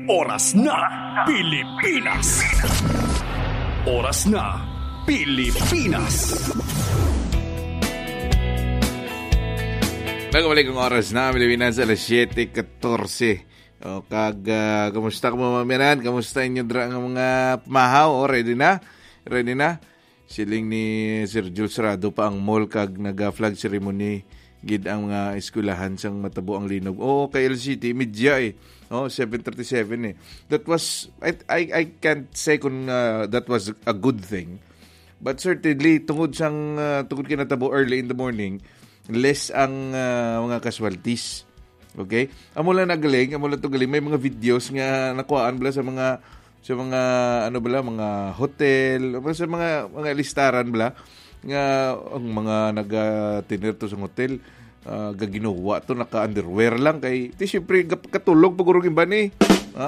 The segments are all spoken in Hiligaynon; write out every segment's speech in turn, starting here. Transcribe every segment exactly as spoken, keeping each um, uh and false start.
Oras na, Pilipinas. Oras na, Pilipinas. Nagabalik ang oras na, Pilipinas, alas siyete katorse. O, kag, ah, kumusta ka, mga mamiyanan? Kumusta inyo dra nga mga pamahaw? O, ready na? Ready na? Siling ni Sir Jules Rado pa ang mall kag naga-flag ceremony gid ang mga eskwelahan sang matabo ang linog. Oo, kay L C T, media eh. Oh, seven thirty-seven eh. That was, I, I, I can't say kung, ah, that was a good thing. But certainly, tungod sang, ah, tungod kay natabo early in the morning, less ang, ah, mga casualties. Okay? Amo lang nagaling, amo lang to galing. May mga videos nga nakuhaan bala sa mga, sa mga, ano bala, mga hotel, o sa mga, mga listaran bala, nga ang mga naga-tener to sa hotel, ah, gaginuwa to, naka-underwear lang kay, ti, siyempre, gap-, katulog pa guro ang iban eh. Ha?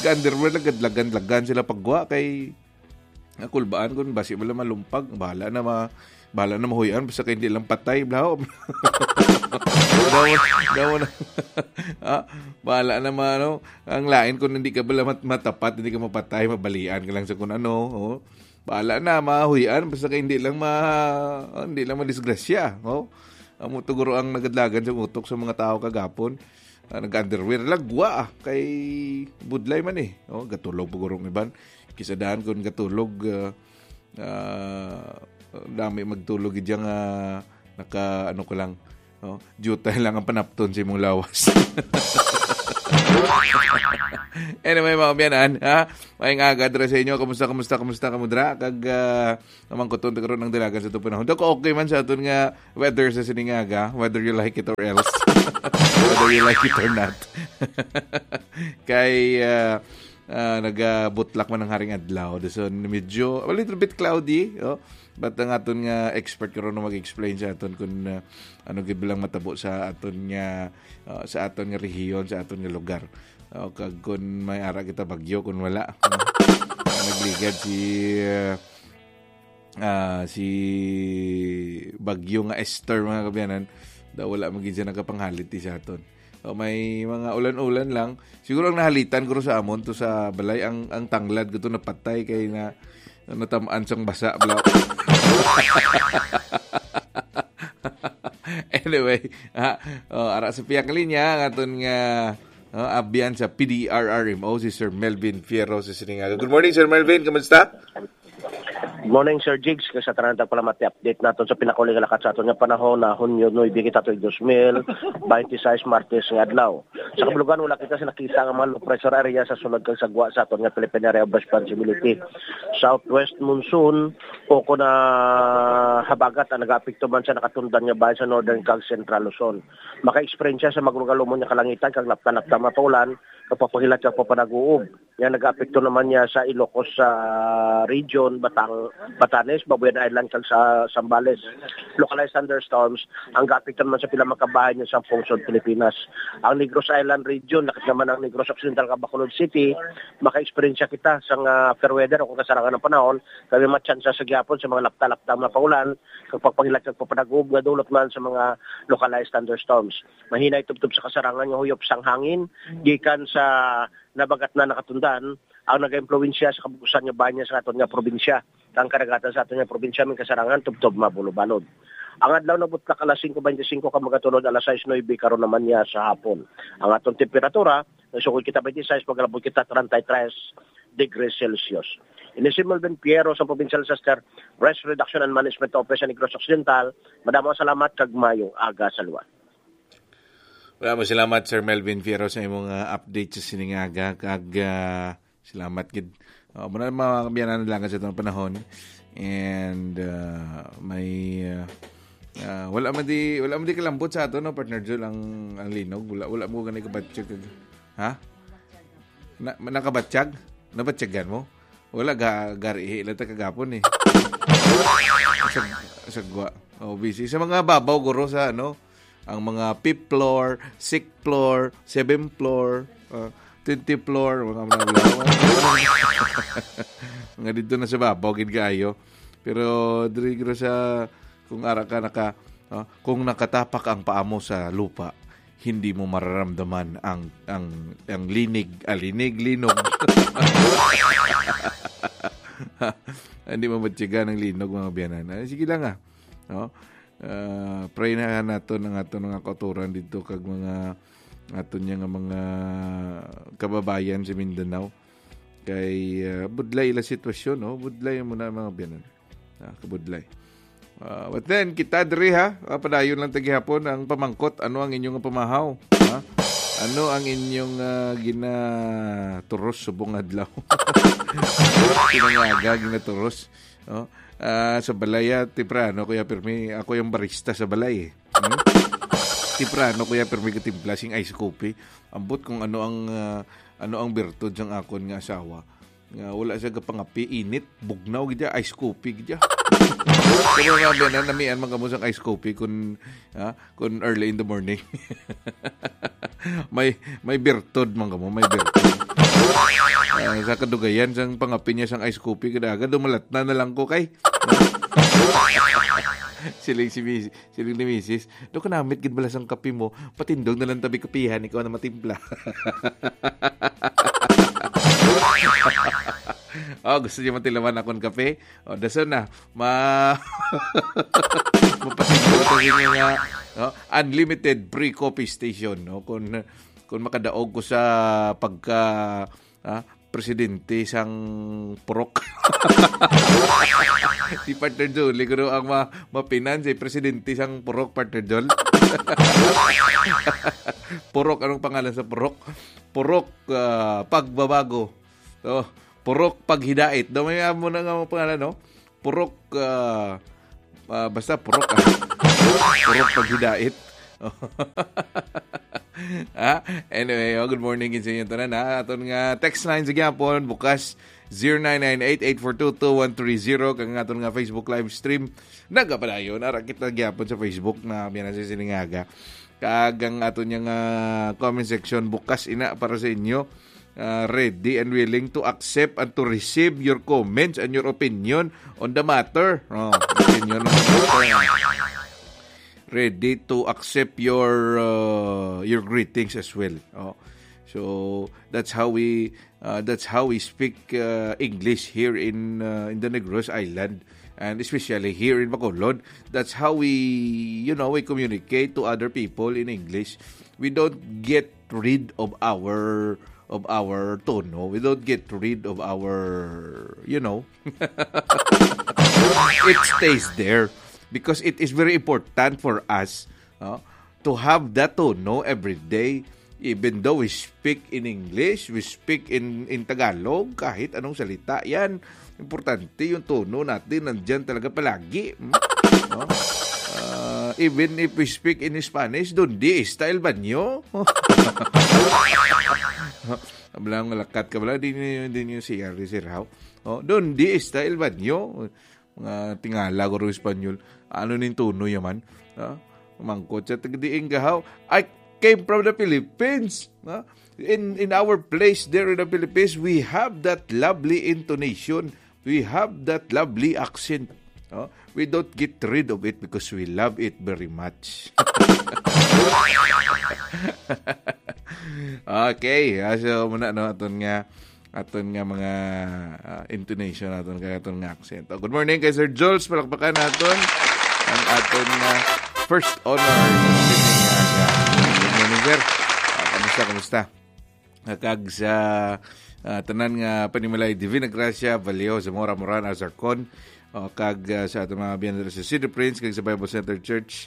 Ga-underwear lang, gadlagan-lagan sila pagwa kay, nga kulbaan kun basi wala malumpag, bahala na ma-, bahala na mahuyan, basta kay hindi lang patay, blaho. Daw, daw na. Ah, bahala na ma-, ano, ang lain kung hindi ka bala mat-, matapat, hindi ka mapatay, mabalian ka lang sa kung ano, oh. Bahala na, mahuyan, basta kay hindi lang ma-, hindi lang madisgrasya, oh. Amo to guro ang nagadlagan sa utok sa mga tao kagapon. Ah, nag-underwear lang, gwa, ah, kay budlay man eh. Oh, gatulog pa guro ang iban. Kisadahan kun gatulog, ah, ah, dami magtulog gid nga naka, ano ko lang, no? Jutay lang ang panapton sa imong lawas. Anyway, mga kaabyanan, ha? Maayong aga dira sa inyo. Kumusta, kumusta, kumusta kamo dira? Kag, ah, namangkuton ta karon ang dalagan sa atong panahon. Daw okay man sa aton nga weather sa sining aga, whether you like it or else. Whether you like it or not. Kay, ah, ah, nagabutlak man ang haring adlaw. So, medyo a little bit cloudy, oh. But ang aton nga expert karon na mag-explain sa aton kung, ah, ano gid lang matabo sa aton nga, ah, sa aton nga rehiyon, sa aton nga lugar. Oh, kag kung may ara kita bagyo, kung wala, no? Nagligad si, ah, ah, si Bagyo nga Esther, mga kaabyanan, daw wala man gid siya nagapanghalit sa aton. O, may mga ulan-ulan lang. Siguro ang nahalitan ko sa amon to sa balay, ang, ang tanglad ko to napatay kay na, natamaan sang basa, bla. Anyway, ah, oh, ara sa pihak linya, ang aton nga, oh, abyan sa P D R R M O, si Sir Melvin Fierro sa Siningaga. Good morning, Sir Melvin. Kamusta? Morning, Sir Jigs. Kay sa tanan, tagpalamat ni update naton sa pinakauli nga lakat sa aton nga panahon na Hunyo nuebe kita tuig dos mil baynte sais, Martes nga adlaw. Sa kabulugan, wala kita sa nakita nga mga low pressure area sa sulod kag sa gwa sa aton nga Philippine Area of Responsibility. Southwest monsoon o kon, ah, habagat ang nagaapekto man sa nakatundan nga bahin sa Northern kag Central Luzon. Maka-eksperyensya sa magalumon nga kalangitan kag lapta-lapta nga paulan, kag pagpahilat kag pagpanag-uob. Nga nagaapekto naman niya sa Ilocos, ah, region, Batang-, Batanes, Babuyan Island, kag sa Zambales. Localized thunderstorms ang gaapekto naman sa pila makabahin niya sa pungsod Pilipinas. Ang Negros Island region, lakip naman ang Negros Occidental kag Bacolod City, maka-eksperyensya kita sa nga fair weather o kung kasarangan ng panahon, kami matsansa sa gihapon sa mga lapta-lapta nga paulan, kag pagpahilat kag pagpanag-uob nga dulot man sa mga localized thunderstorms. Mahinay tubtob sa kasarangan nga huyop sang hangin gikan sa nabagat na nakatundan ang nagaimpluwensya sa kabukusan nga bahin niya sa aton nga probinsya, kang kadagatan sa aton nga probinsya, may kasarangan tubtob mabulobalod. Ang adlaw nabutlak alas singko bente singko kag magatulod alas sais nuebe karon naman niya sa hapon. Ang aton temperatura, nagsukoy kita bente sais, magalabot kita treinta y tres degrees Celsius. Ini si Melvin Piero sa Provincial Disaster Risk Reduction and Management Office sa Negros Occidental. Madamo ang salamat kag mayong aga sa luwa. Wala mo, salamat, Sir Melvin Fierro, sa imong, ah, update sa sining aga. Kag, ah, salamat gid. Oh, muna mga kabiyanan lang sa itong panahon. And, ah, may, ah, ah, wala man di, wala man di kalambot sa ato, no, partner Jul, ang, ang linog. Wala, wala mo ganay kabatsag. Ha? Na, nakabatsag? Nabatyagan mo? Wala, ga-, garihi lang ta kagapon eh. Sa, sa gwa. Oh, busy. Sa mga babaw, guro, sa ano, ang mga fifth floor, sixth floor, seventh floor, uh, twenty floor, mga, mga, mga, mga dito na sa babaw, gid kaayo. Pero diri, guro, sa, kung ara ka naka, uh, kung nakatapak ang paa mo sa lupa, hindi mo mararamdaman ang, ang, ang linig, ah, linig, linog. Hindi mo matyaga ng linog, mga biyanan. Ah, sige lang, ah. No? Ah, pray na naton ang aton mga kautoran dito kag mga aton niya nga mga kababayan sa Mindanao. Kay, ah, budlay ila sitwasyon, no? Budlay mo na, mga biyanan. Ah, kabudlay. Ah, but then, kita diri, ha? Ah, padayon lang ta gihapon ang pamangkot, ano ang inyong pamahaw? Ha? Ano ang inyong, ah, ginaturos subong adlaw? Pinangaga, ginaturos. No? Ah, sa balay, ah, temprano, Kuya Pirmi, ako yung barista sa balay, eh. Hmm? Temprano, Kuya Pirmi, katimpla sing ice coffee. Ambot kung ano ang, ah, ano ang birtud sang akon nga asawa. Nga wala siya gapangapi, init, bugnaw gid siya, ice coffee gid siya. Kaya nga, biyanan, namian man kamo sang ice coffee kun, ah, kun early in the morning. May, may birtud man kamo, may birtud. Ah, sa kadugayan sang pangapi niya sang ice coffee, kada aga, dumalat na na lang ko kay. Siling si Miss, siling ni Misis, "Do kanamit gid bala sang kape mo, patindog na lang tabi kapihan, ikaw na matimpla." Oh, gusto niyo matilawan akon kape? Oh, dason na. Ma-, mapatindog ko sa inyo nga, no? Unlimited free coffee station, no? Kung, kung makadaog ko sa pagka, ah, presidente sang purok. Si Partner Jol, siguro ang ma-, mapinan si presidente sang purok, Partner Jol. Purok, anong pangalan sa purok? Purok, ah, Pagbabago. So, Purok Paghidait. Daw may amo na nga mga pangalan, no? Purok, ah, ah, basta purok, ah. Purok Paghidait. Ah, anyway, oh, good morning gid sa inyo tanan, ha. Aton nga text line sa gyapon, bukas, zero nine nine eight eight four two two one three zero, kag ang aton nga Facebook live stream. Nagapadayon, ara kita gyapon sa Facebook na, biyanan, sa sining aga. Kag ang aton nga, ah, comment section bukas ina para sa inyo. Ah, ready and willing to accept and to receive your comments and your opinion on the matter. Oh, opinion on the matter. Ready to accept your, uh, your greetings as well. Oh. So that's how we, uh, that's how we speak, uh, English here in, uh, in the Negros Island, and especially here in Bacolod. That's how we, you know, we communicate to other people in English. We don't get rid of our, of our tono. We don't get rid of our, you know, it stays there because it is very important for us, no, to have that tono every day. Even though we speak in English, we speak in, in Tagalog, kahit anong salita yan, importante yung tono natin, nandyan talaga palagi. Hmm? No? Ah, even if we speak in Spanish, "Dónde está el baño?" Ablang malakat ka bala, di niyo, di niyo C R, di sir, how? Oh, "Dónde está el baño?" Mga tingala ko ro Espanyol. Ano ning tono yaman? Ha? Mangkot siya, "Taga diin ka, how?" "I came from the Philippines." Ha? In, in our place there in the Philippines, we have that lovely intonation. We have that lovely accent. No? We don't get rid of it because we love it very much. Okay, ah, so muna, no, aton nga, aton nga mga, ah, intonation, aton kay aton nga accent. Oh, good morning kay Sir Jules, palakpakan naton ang aton nga first honor. Good morning, sir. Ah, kamusta, kamusta? Ah, kag sa, ah, tanan nga panimalay, Divina Gracia, Vallejo, Zamora, Moran, Azarcon, oh, kag, ah, sa aton mga biyan dira sa City Prince, kag sa Bible Center Church,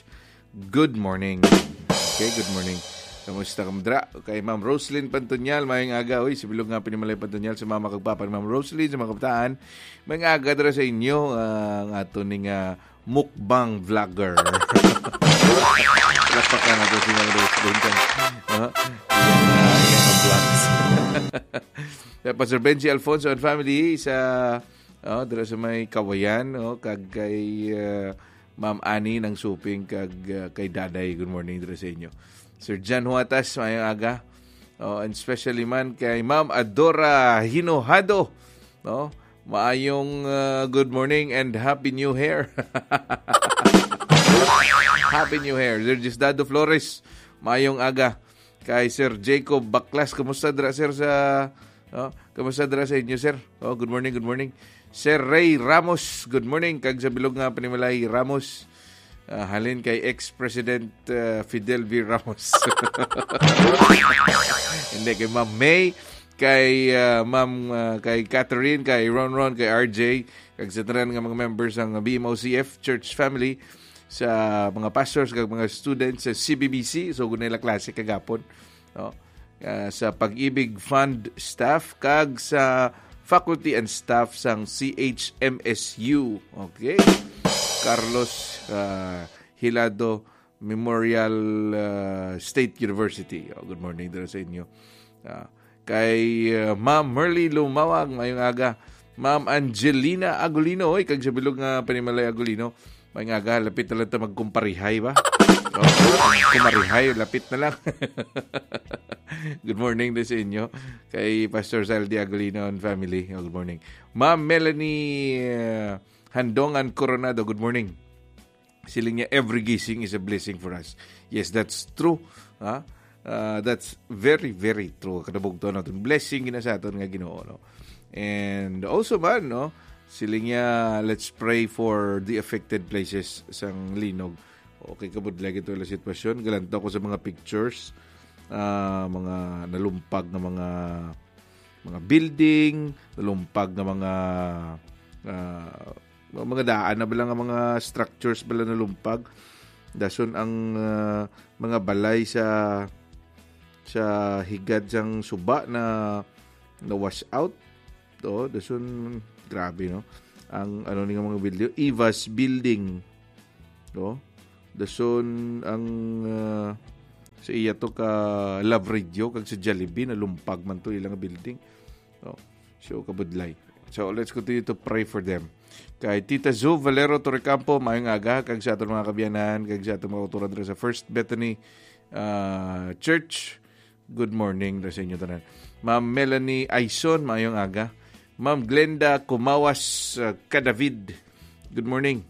good morning. Okay, good morning. Kamusta ka, madra? Kay Ma'am Roslyn Pantonyal, mayong aga. Uy, si Bilog nga panimalay Pantonyal, sa mama kag papa ni Ma'am Roslyn, sa mga kabataan. Mayong aga dira sa inyo, ah, ang aton ning, ah, mukbang vlogger. Lapakan nato si Ma'am Roslyn kag, ah, iyang, ah, iyang vlogs. Kay Pastor Benji Alfonso and family sa, oh, dira sa may Kawayan, oh, kag kay, ah, Ma'am Annie ng Suping kag, ah, kay Daday. Good morning dira sa inyo. Sir Jan Huatas, mayong aga. Oh, and especially man kay Ma'am Adora Hinohado. No? Maayong, uh, good morning and Happy New Year. Happy New Year. Sir Diosdado Flores, Mayong aga kay Sir Jacob Baklas. Kumusta dira, sir, sa, oh, kumusta dira sa inyo, sir? Oh, good morning, good morning. Sir Ray Ramos, good morning. Kag sa bilog nga panimalay, Ramos. Ah, halin kay ex-President, ah, Fidel V. Ramos. Hindi, kay Ma'am May, kay, ah, Ma'am, ah, kay Catherine, kay Ron Ron, kay R J, kag sa tanan nga mga members sang B M O C F Church Family, sa mga pastors kag mga students sa C B B C. So, gunay la klase kagapon, no? Ah, sa Pag-ibig Fund staff kag sa faculty and staff sang C H M S U. Okay. Carlos, ah, Hilado Memorial, ah, State University. Oh, good morning dira sa inyo. Ah, kay, ah, Ma'am Merly Lumawag, mayong aga. Ma'am Angelina Agulino, oy, kag sa bilog nga panimalay Agulino, mayong aga, lapit na lang ta magkumparihay ba? Oh, kumarihay, lapit na lang. Good morning din sa inyo. Kay Pastor Saldi Agulino and family. Oh, good morning. Ma'am Melanie, ah, Handongan Coronado, good morning. Siling niya, "Every gising is a blessing for us." Yes, that's true. Ha? Ah, that's very, very true. Kadabog to natin. Blessing gina sa aton nga Ginoo, no? And also man, no? Siling niya, "Let's pray for the affected places sang linog." Okay, kabudlay ito ila sitwasyon. Galanto ako sa mga pictures. Ah, mga nalumpag nga mga, mga building, nalumpag nga mga, ah, mga daan na bala nga mga structures bala nalumpag. Dason ang, ah, mga balay sa, sa higad sang suba na, na wash out. To, dason, grabe, no? Ang, ano ni nga mga building, Evas Building. No? Dason ang, ah, sa iya to ka Love Radio kag sa Jollibee, nalumpag man to ilang building. No? So, kabudlay. So, let's continue to pray for them. Kay Tita Zo Valero Torrecampo, mayong aga, kag sa aton mga kabiyanan, kag sa aton mga kauturan dira sa First Bethany, ah, Church. Good morning dira sa inyo tanan. Ma'am Melanie Aison, mayong aga. Ma'am Glenda Kumawas, ah, Cadavid, good morning.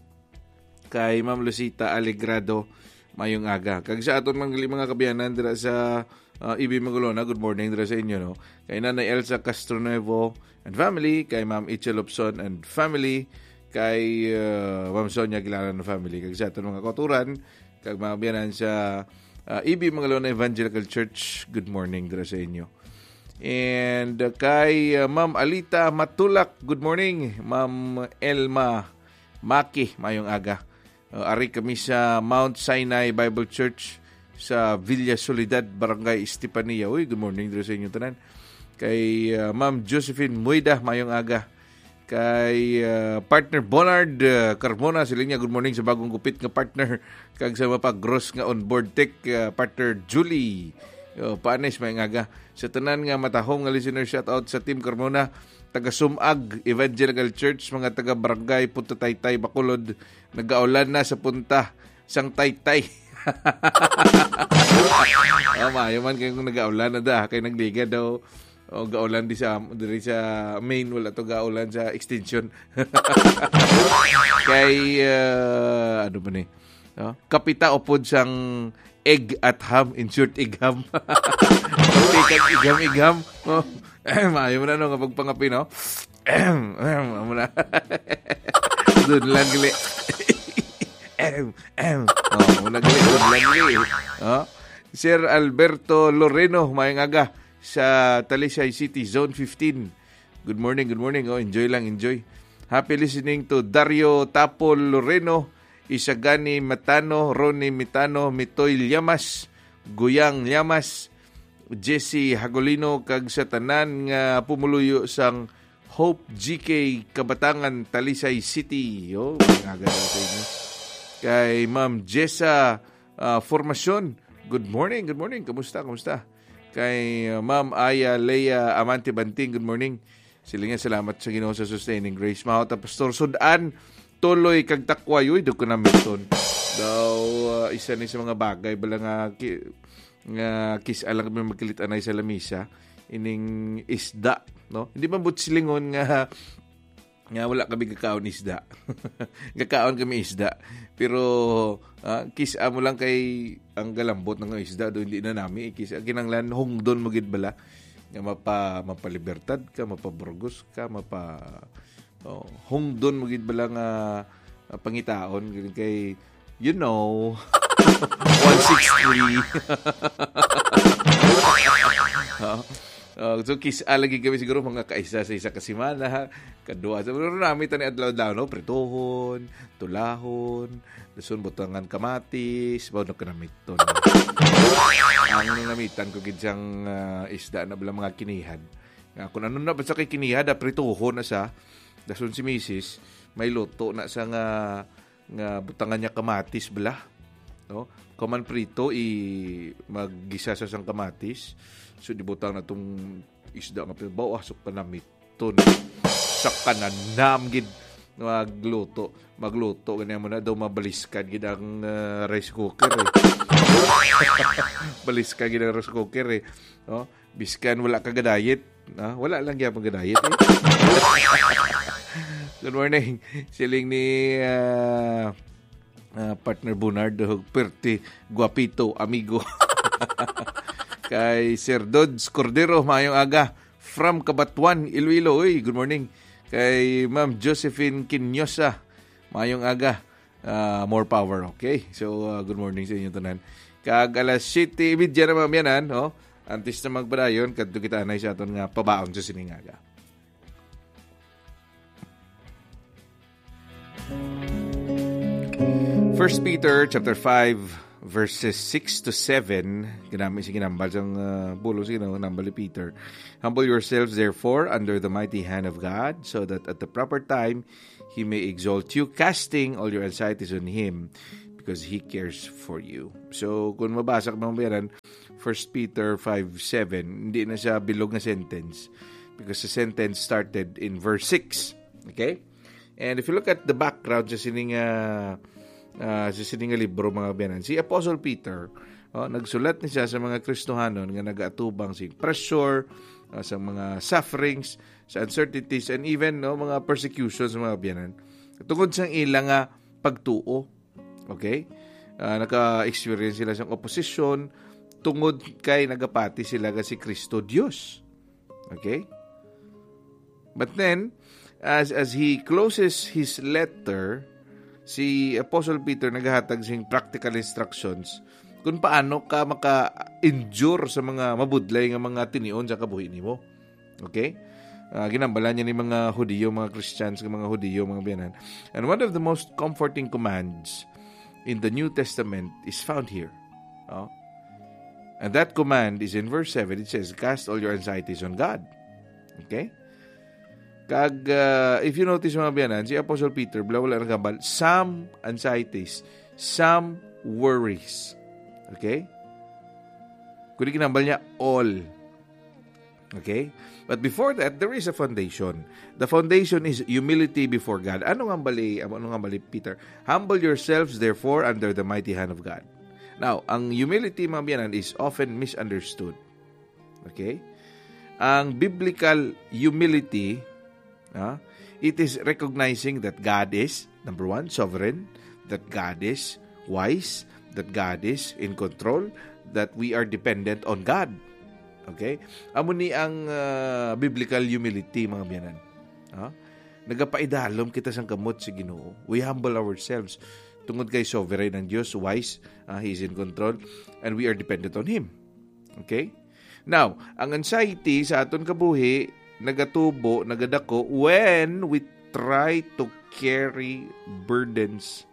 Kay Ma'am Lucita Alegrado, mayong aga. Kag sa aton mga gali-, mga kabiyanan dira sa, ah, Ibi Magalona, good morning dira sa inyo, no? Kay Nanay Elsa Castronuevo and family, kay Ma'am Itzel Lobson and family, kay, ah, Ma'am Sonia Aguilar and family, kag sa aton mga kauturan, kag mga kabiyanan sa, ah, Ibi Magalona Evangelical Church, good morning dira sa inyo. And, ah, kay, ah, Ma'am Alita Matulak, good morning. Ma'am Elma Maki, mayong aga. Uh, ari kami sa Mount Sinai Bible Church sa Villa Soledad, Barangay Estepania. Uy, good morning diri sa inyo tanan. Kay, uh, Ma'am Josephine Muida, mayong aga. Kay, uh, Partner Bonard, uh, Carmona, sila niya, good morning sa bagong gupit nga partner. Kag sa mapagros nga onboard tech, uh, Partner Julie, uh, Panes, mayong aga. Sa tanan nga matahom nga listener, shout out sa Team Carmona, taga Sumag Evangelical Church, mga taga Barangay Punta Taytay, Bacolod, nagaulan na sa punta sang Taytay. Oh, maayo man kay kung nagaulan na da, kay nagliga daw. O, gaulan di sa, diri sa main, wala to gaulan sa extension. Kay, ah, ano ba ni? No? Kapita upod sang egg at ham, in short, egg ham. Kape kag igham-igham. Oh, maayo man ano nga pagpangape, no? Amo na. Doon lang gali. Em, em. Oh, amo na gali. Doon lang gali. Oh. Sir Alberto Loreno, mayong aga sa Talisay City, Zone fifteen. Good morning, good morning. Oh, enjoy lang, enjoy. Happy listening to Dario Tapol Loreno, Isagani Matano, Ronnie Mitano, Mitoy Llamas, Guyang Llamas, Jesse Hagolino, kag sa tanan nga pumuluyo sang Hope G K Kabatangan, Talisay City. Yo, mga ganda sa inyo. Kay Ma'am Jessa, ah, Formacion, good morning, good morning. Kumusta, kumusta? Kay, ah, Ma'am Aya Lea Amante Banting, good morning. Sila nga, salamat sa Ginoo sa sustaining grace. Mahal ta, Pastor, sudan, tuloy kag takway. Uy, doon ko na, Milton. Daw, ah, isa ni sa mga bagay bala nga ki-, nga kis-a lang kami magkilit-anay sa lamisa, ining isda, no? Hindi man buot silingon nga nga wala kami gakaon isda. Gakaon kami isda. Pero, ah, kis-a mo lang kay ang galambot ng isda, do hindi na nami, eh, kis-a kinanglan, hungdon mo gid bala. Nga mapa-, mapalibertad ka, mapaburgos ka, mapa-, oh, hungdon mo gid bala nga, ah, pangitaon, kay, you know, one six three. Oh, oh, so, kis-a lagi kami siguro mga kaisa sa isa ka semana, ha? Kadua sa, pero nami tani adlaw-adlaw, no? Prituhon, tulahon, dason butangan kamatis, ba, no, kanamiton. Ang namitan ko gid sang, ah, isda na bala mga kinihad. Nga, kung ano na basta kay kinihad, ah, prituhon na sa, dason si misis, may luto na sa nga, nga butangan niya kamatis bala. No? Kaman prito, i-, maggisa sa sang kamatis. So, di butang na tong isda nga pinabaw, ah, so kanamiton. Sa kananam gid magluto. Magluto, ganyan mo na daw, mabaliskad gid ang, ah, rice cooker, eh. Baliskad gid ang rice cooker, eh. No? Biskan wala ka ga-diet. Ah, wala lang gyapon ga-diet, eh. Good morning. Siling ni, ah, ah, partner Bernardo, perte, guapito, amigo. Kay Sir Dodds Cordero, mayong aga. From Cabatuan, Iloilo. Uy, good morning. Kay Ma'am Josephine Quinosa, mayong aga. Ah, more power, okay? So, ah, good morning sa inyo tanan. Kag alas siyete y media na, mga biyanan, no? Antes na magpadayon, kadto kita anay sa aton nga pabaon sa sining aga. First Peter chapter five, verses six to seven, ginami sa ginambal sang, ah, bulo sa ginambal ni Peter. "Humble yourselves, therefore, under the mighty hand of God, so that at the proper time He may exalt you, casting all your anxieties on Him, because He cares for you." So, kung mabasa ka, mga bayanan, First Peter five seven, hindi na siya bilog nga sentence, because the sentence started in verse six. Okay? And if you look at the background sa sining, ah, ah, sa sining nga libro, mga bayanan, si Apostle Peter, oh, nagsulat ni siya sa mga Kristohanon nga nagaatubang sa pressure, ah, sa mga sufferings, sa uncertainties, and even, no, mga persecutions, mga bayanan, tungod sa ila nga pagtuo. Okay? Ah, naka-experience sila sa opposition tungod kay nagapati sila nga si Cristo Dios. Okay? But then, as, as he closes his letter, si Apostle Peter naghatag sing practical instructions kung paano ka maka-endure sa mga mabudlay nga mga tinion sa kabuhi nimo. Okay? Ah, ginambala niya ni mga Hudiyo, mga Christians, nga mga Hudiyo, mga biyanan. And one of the most comforting commands in the New Testament is found here. Oh? And that command is in verse seven. It says, "Cast all your anxieties on God." Okay? Kag, ah, if you notice, mga biyanan, si Apostle Peter, bala wala nagambal, some anxieties, some worries. Okay? Kundi ginambal niya, all. Okay? But before that, there is a foundation. The foundation is humility before God. Ano nga bali, ano nga bali, Peter? "Humble yourselves, therefore, under the mighty hand of God." Now, ang humility, mga biyanan, is often misunderstood. Okay? Ang biblical humility, ah, it is recognizing that God is, number one, sovereign, that God is wise, that God is in control, that we are dependent on God. Okay? Amo ni ang, ah, biblical humility, mga biyanan. Ah? Nagapaidalom kita sang kamot sa Ginoo. We humble ourselves. Tungod kay sovereign ang Dios, wise, ah, He is in control, and we are dependent on Him. Okay? Now, ang anxiety sa aton kabuhi nagatubo, nagadako when we try to carry burdens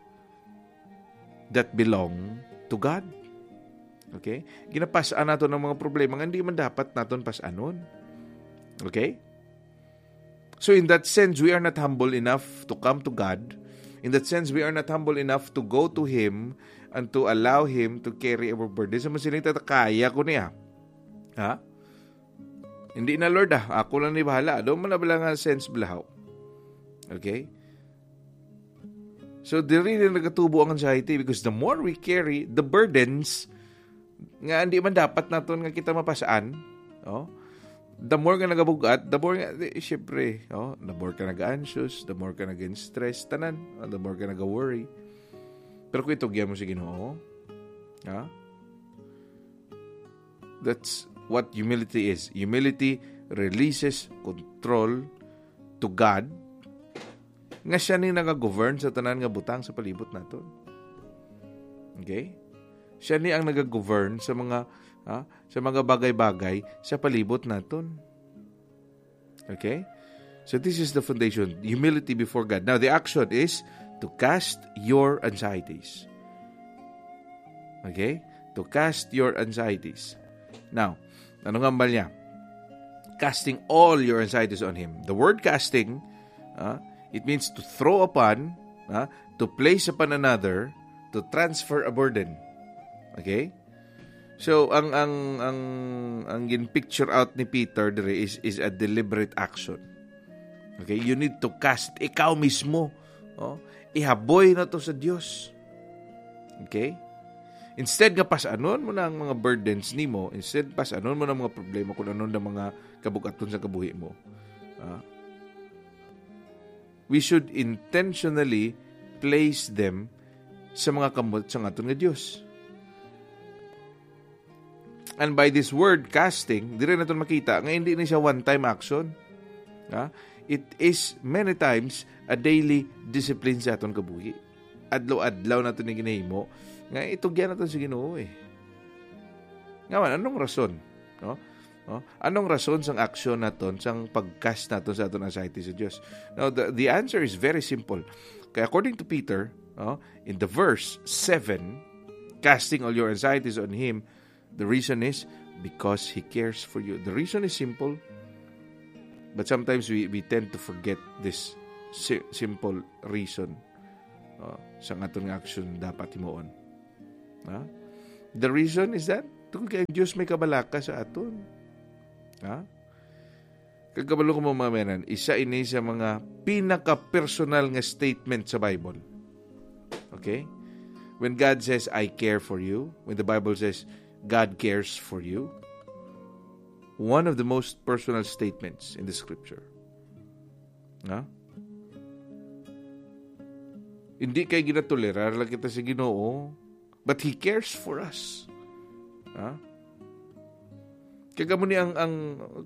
that belong to God. Okay? Ginapas-an naton ang mga problema nga hindi man dapat naton pas-anon. Okay? So in that sense, we are not humble enough to come to God. In that sense, we are not humble enough to go to Him and to allow Him to carry our burden. Sa masiling ta, "Kaya ko niya." Ha? "Hindi na, Lord, ah. Ako lang ni bahala." Doon man na bala nga sense balahaw. Okay? So, diri na nagatubo ang anxiety, because the more we carry the burdens nga hindi man dapat naton nga kita mapasaan, oh, The more ka nagabugat, the more nga, di, syempre, oh, the more ka nag-anxious, the more ka nag-stress, tanan, oh, the more ka nag-worry. Pero kung itugyan mo sa Ginoo, ha? That's what humility is. Humility releases control to God, nga siya ni nagagovern sa tanan nga butang sa palibot naton. Okay? Siya ni ang nagagovern sa mga, ha, sa mga bagay-bagay sa palibot naton. Okay? So this is the foundation, humility before God. Now the action is to cast your anxieties. Okay? To cast your anxieties. Now, ano nga ba niya? Casting all your anxieties on Him. The word casting, ah, it means to throw upon, ah, to place upon another, to transfer a burden. Okay? So, ang, ang, ang, ang gin-picture out ni Peter diri is, is a deliberate action. Okay? You need to cast, ikaw mismo. Oh, ihaboy na to sa Dios. Okay? Instead nga pas-anon mo na ang mga burdens nimo, instead pas-anon mo na ang mga problema kung ano na mga kabugaton sa kabuhi mo. Ah, we should intentionally place them sa mga kamot sang aton nga Dios. And by this word, casting, diri naton makita nga hindi ni siya one-time action. Ha? It is many times a daily discipline sa aton kabuhi. Adlaw-adlaw naton ni ginahimo nga itugyan naton sa Ginoo eh. Nga man, anong rason? No? No? Anong rason sang aksyon naton, sang pag-cast naton sa aton anxiety sa Dios? Now, the, the answer is very simple. Kaya according to Peter, no, in the verse seven, casting all your anxieties on Him, the reason is because He cares for you. The reason is simple, but sometimes we, we tend to forget this si- simple reason, uh, sa aton nga aksyon dapat himuon. Ha? The reason is that tungod kay ang Dios may kabalaka sa aton. Ha? Kag kabalo ko, mga kaibigan, isa ini sa mga pinaka-personal nga statement sa Bible. Okay? When God says, "I care for you," when the Bible says, "God cares for you," one of the most personal statements in the scripture. Ha? Hindi kay ginatolerar lang kita sa Ginoo, but He cares for us. Ha? Kaya mo ni ang, ang,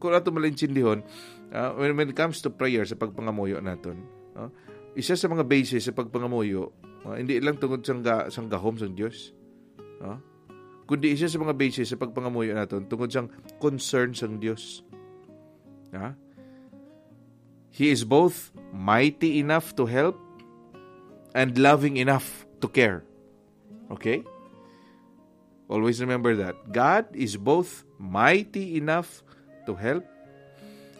kung ato malintindihon, ah, when, when it comes to prayer, sa pagpangamuyo naton, ah, isa sa mga basis sa pagpangamuyo, ah, hindi lang tungod sang ga-, sang gahom sang Dios, ah, kundi isa sa mga basis sa pagpangamuyo naton tungod sang concern sang Dios. Ah? He is both mighty enough to help and loving enough to care. Okay? Always remember that. God is both mighty enough to help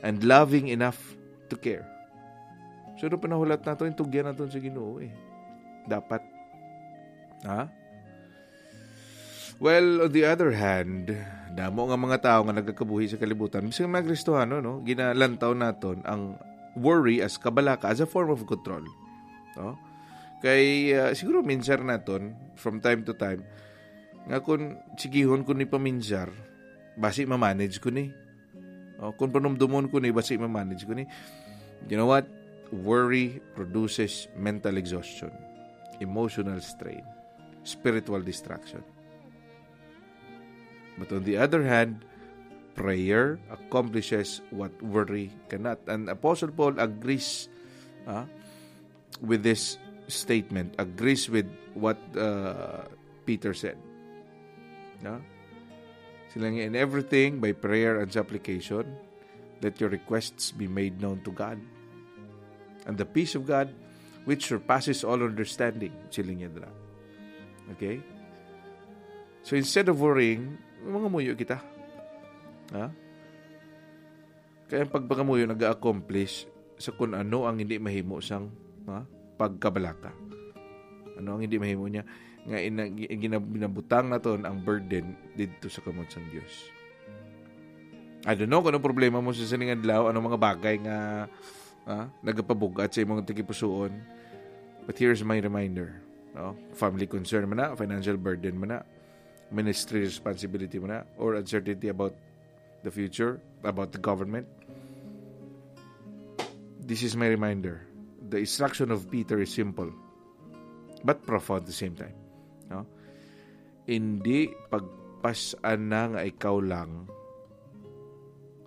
and loving enough to care. So, nung panahulat nato, itugyan nato sa Ginoo eh. Dapat. Ha? Well, on the other hand, damo nga mga tawo nga nagakabuhi sa kalibutan, bisan mga Kristohanon, no? Ginalantaw naton ang worry as kabalaka, as a form of control. No? Kay, ah, siguro minsar naton, from time to time, nga kung sigihon ko ni paminsar, basi ma-manage ko ni. O, kung panumdumon ko ni, basi ma-manage ko ni. You know what? Worry produces mental exhaustion, emotional strain, spiritual distraction. But on the other hand, prayer accomplishes what worry cannot. And Apostle Paul agrees, ah, with this statement, agrees with what, uh, Peter said. No? Sila nga, "In everything, by prayer and supplication, let your requests be made known to God. And the peace of God, which surpasses all understanding," sila niya dira. Okay? So instead of worrying, mangamuyo kita. Ha? Kaya ang pagpangamuyo nag-accomplish sa kung ano ang hindi mahimo sang, ha, pagkabalaka. Ano ang hindi mahimo niya? Nga ina-, gi-, ginab-, ginabutang naton ang burden didto sa kamot sang Dios. I don't know kung anong problema mo sa sining adlaw, anong mga bagay nga, ha, nagapabug-at sa imong tagipusoon. But here's my reminder, no? Family concern man na, financial burden man na, ministry responsibility man na, or uncertainty about the future, about the government, this is my reminder. The instruction of Peter is simple, but profound at the same time. No? Hindi pagpas-an na nga ikaw lang,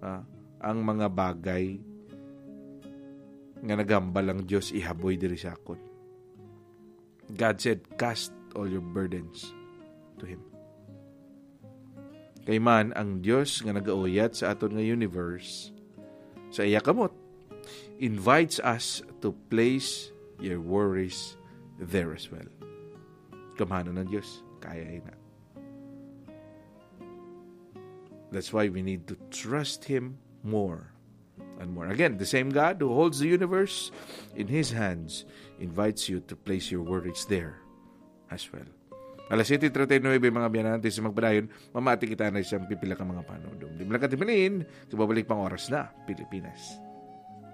ah, ang mga bagay nga nagambal ang Dios ihaboy diri sa akon. God said, "Cast all your burdens to Him." Kay man, ang Dios nga nagauyat sa aton nga universe, sa iya kamot, invites us to place your worries there as well. Gamhanan ang Dios. Kaya na. That's why we need to trust Him more and more. Again, the same God who holds the universe in His hands invites you to place your worries there as well. Alas siyete treinta y nueve, mga biyanan, antes sa magpadayon, mamati kita na isang pipila ka mga panudom. Di mo lang katimalin, kababalik pang oras na, Pilipinas.